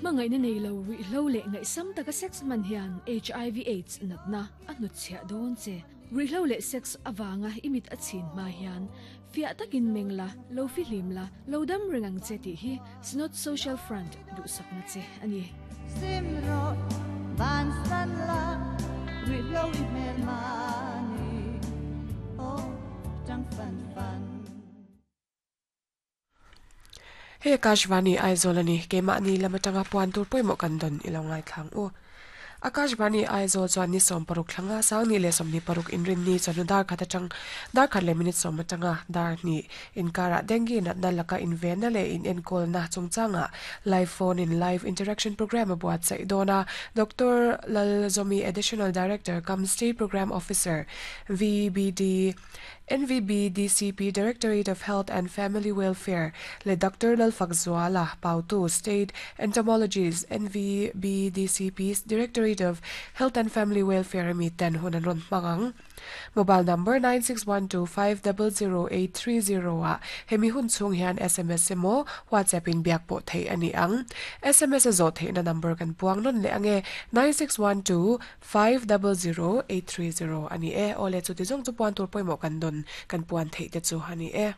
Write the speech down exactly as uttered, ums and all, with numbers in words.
Mangai na nei lo ri hlo le ngai sam taka sex man hian H I V AIDS natna a hnu chhia dawn che. Ri hlo le sex awanga imit a chin ma hian fia takin mengla lo fi hlim la lo dam rengang che ti hi Synod Social Front du sakna che ani. Simro van san la ri hlo i mel mani o tang fan fan. He Akashvani Aizawl ani keima ni lamatanga puan tur poimo kan don ilongai thlang u. Akashvani Aizawl chuan ni som paruk thlanga sang ni le som ni paruk inrin ni chanu dar khata chang dar khat le minute som atanga dar ni inkara dengue na na laka inven na le in enkol na chungchanga live phone in live interaction program abuat sai dona Doctor Lal Zomi, Additional Director cum State Program Officer V B D N V B D C P Directorate of Health and Family Welfare le Doctor Lal Fakzuala Pautu State Entomologist N V B D C P Directorate of Health and Family Welfare mi ten hunan ron mangang mobile number nine six one two five zero zero eight three zero a hemi hun chung hian S M S emo WhatsApp in biak po thei ani ang S M S zo thei na number kan puang non le ange nine six one two five zero zero eight three zero ani e ole chu ti jong chu puan tur poimo kan don kan puan thei te chu hani e.